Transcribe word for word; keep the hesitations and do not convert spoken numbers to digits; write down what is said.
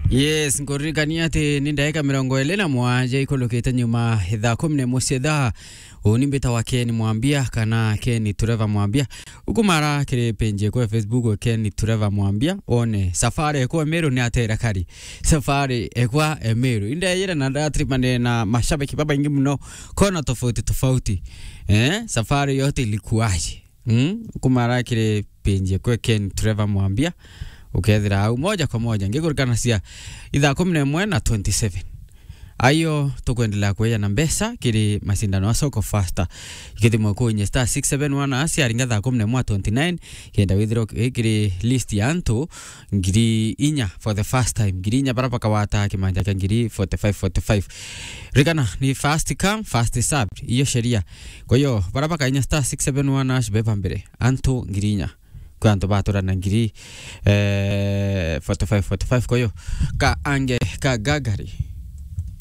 Yes, nkuririkania ati ni ndagika mirongo iri na mwanja ikulukite nyuma ithaa kumi na imwe cia ithaa. Uni mbita wa Ken Mwambia kana Ken Trevor Mwambia. Ukumara kiri page ekwa ya Facebook Ken Trevor Mwambia, one safari ekwa Meru ni atera kari. Safari ekwa Meru. Indeyire na ndatripanire na mashabiki babaingi muno kona tofauti tofauti. Eh, safari yote ilikuwaje? Mm? Kumara kiri page ekwa Ken Trevor Mwambia, ukethira au moja kwa moja. Ngikurikanacia ithaa kumi na imwe na twenty-seven. Ayo tukwendelea kueja na mbeca kiri macindano ya Soko Fasta. Ikithimwa kuinye star six seven one hash, aringa thaa kumi na imwe twenty-nine, kenda withirwa kiri list ya antu ngiri inya for the first time. Ngiri inya bara bakawata kimanja kia ngiri forty-five forty-five. Rikana ni first come, first served. Iyo sheria. Kwa hiyo, bara bakainya star six seven one hash beba mbere. Antu ngiri inya. Kwa antu batura na ngiri, eh, forty-five forty-five. Kwa hiyo, ka ange, ka gagari.